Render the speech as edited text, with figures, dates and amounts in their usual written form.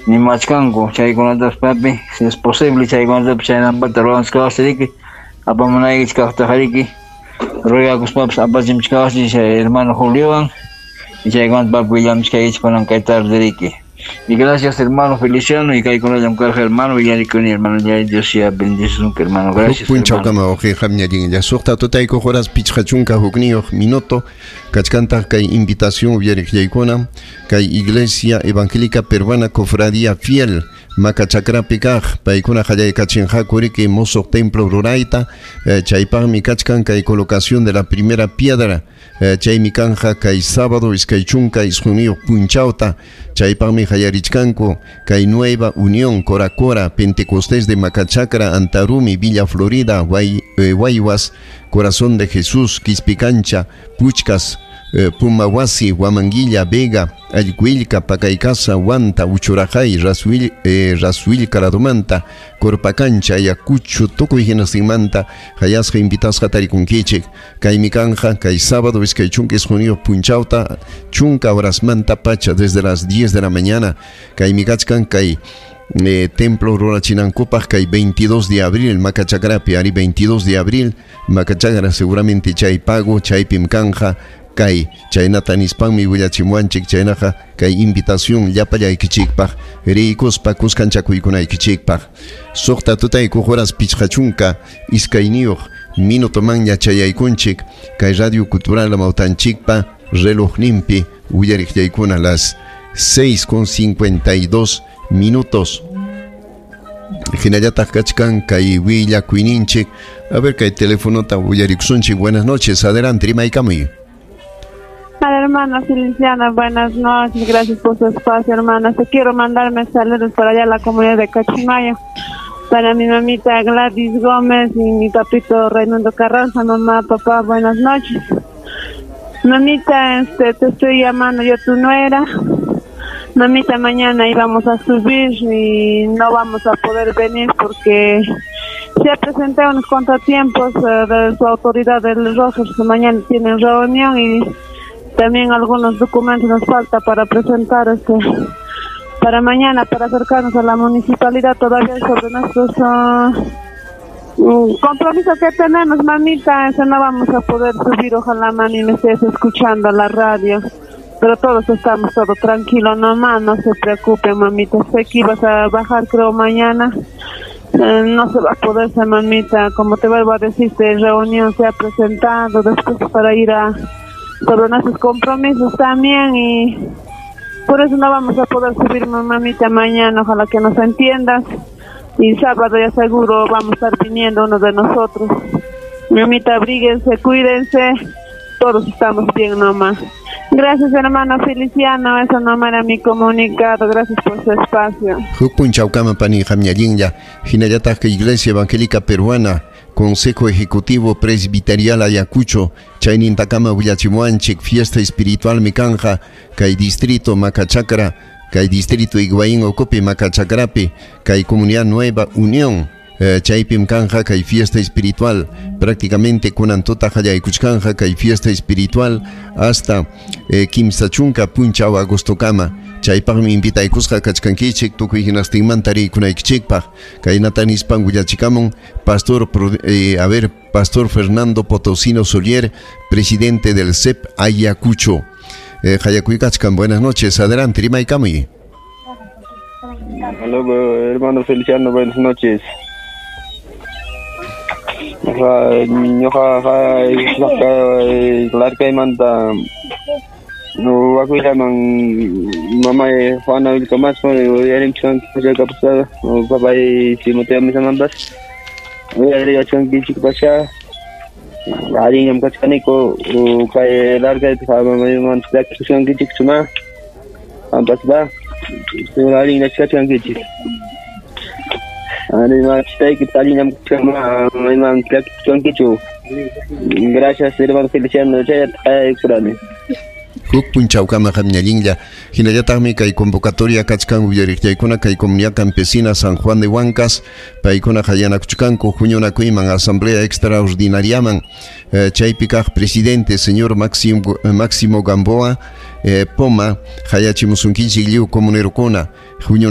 Nimachkanku chaykunatapas papi, si es posible chaykunatapas chaynampata ruwanchkawasriki apamunaykichik ruegakuspapas apachimchkawaschik chay hermano Juliowan y chaykunata papi willamchkaykichik kunan kay tarde riki. Y gracias hermano Feliciano y kaykunallam karqa hermano willarikuni hermano ya Dios ya bendice hermano gracias. Punchawkama wawqi qamñallinlla suqta tutaykuq horas 51 minuto kachkantaq kay invitación uyariqllaykuna kay Iglesia Evangélica Peruana Cofradía Fiel Macachakrapi kaq paykuna qallaykachinqaku riki musuq templo rurayta chaypaqmi kachkan kay colocación de la primera piedra chaymi kanja kay sábado 29 punchawta chaypaqmi qallarichkanku kay Nueva Unión Coracora Pentecostés de Macachacra Antarumi Villa Florida Guaywas Corazón de Jesús Quispicancha Puchcas Pumawasi, Huamanguilla, Vega, Allquillca, Pacaycasa, Huanta, Uchurajay, Rasuil Caradumanta, Corpacancha, Ayacucho, tukuy hinastinmanta, hayasqa invitasqa tarikunkichik, kaymi kanja, kay sábado 29 punchawta, chunka horasmanta pacha, desde las 10 de la mañana, kaymi kachkan kay templo rurachinankupaq kay 22 de abril Macachakrapi, ari 22 de abril Macachakra seguramente chay pago, chaypim kanja, kay chaynata nispanmi willachimuwanchik chaynaqa kay invitación llapallaykichikpaq riykuspa kuskanchakuykunaykichikpaq suqta tutaykuq horas 52 minutomanña chayaykunchik kay Radio Cultural Amawtanchikpa relojninpi willariqllaykuna las 6:52 minutos. Hinallataq kachkan kay willakuyninchik. A ver kay telefonota willarikusunchik. Buenas noches, adelante, rimaykamuy. Hola, hermana Feliciana, buenas noches, gracias por su espacio, hermana. Te quiero mandarme saludos para allá a la comunidad de Cachimayo, para mi mamita Gladys Gómez y mi papito Raimundo Carranza. Mamá, papá, buenas noches. Mamita, te estoy llamando yo, tu nuera. Mamita, mañana íbamos a subir y no vamos a poder venir porque se ha presentado unos contratiempos de su autoridad del Rogers, que mañana tienen reunión y también algunos documentos nos falta para presentar para mañana, para acercarnos a la municipalidad todavía sobre nuestros compromisos que tenemos, mamita. Eso no vamos a poder subir, ojalá, mami, me estés escuchando la radio. Pero todos estamos todo tranquilo nomás, no se preocupe, mamita. Sé que ibas a bajar, creo, mañana. No se va a poder, mamita. Como te vuelvo a decir, esta reunión se ha presentado después para ir a sobre nuestros compromisos también y por eso no vamos a poder subir, mamita, mañana. Ojalá que nos entiendas. Y sábado ya seguro vamos a estar viniendo uno de nosotros. Mamita, abríguense, cuídense. Todos estamos bien nomás. Gracias, hermano Feliciano. Eso nomás era mi comunicado. Gracias por su espacio. Huk punchawkama pani qamñallinlla hinallataq Iglesia Evangélica Peruana Consejo Ejecutivo Presbiterial Ayacucho chaynintakama willachimuwanchik fiesta espiritual mikanja kay distrito Macachacra kay distrito Higuaín Ocopi Macachakrapi kay comunidad Nueva Unión chaypim kanja kay fiesta espiritual prácticamente kunan tuta qallaykuchkanja kay fiesta espiritual hasta 30 punchaw agostokama chaypaqmi invitaykusqa kachkankichik tukuy hinastinmanta riykunaykichikpaq kaynata nispan willachikamun pastor Pastor Fernando Potosino Solier, presidente del CEP Ayacucho. Qallakuykachkan, buenas noches, adelante, rimaykamuy. Hola, hermano Feliciano, buenas noches. Larcaymanta wakullaman mamay Juana Vilcamasco uyarimchkanki papay Timoteo Misamanpas uyariyachkankichikpasha allinñam kachkaniku kay Larcaypi mamayman llakisqankichikchuma qampas allinña kachkankichik. Gracias, hermano Feliciano. Huk punchawkama qamñallinlla hinallataqmi kay convocatoria kachkan uyariqllaykuna kay comunidad campesina San Juan de Huancas paykuna qallanakuchkanku huñunakuyman asamblea extraordinariaman chaypi kaq presidente señor Máximo Gamboa Poma hayachimusunkichik lliw comunerukuna huñunakuyman.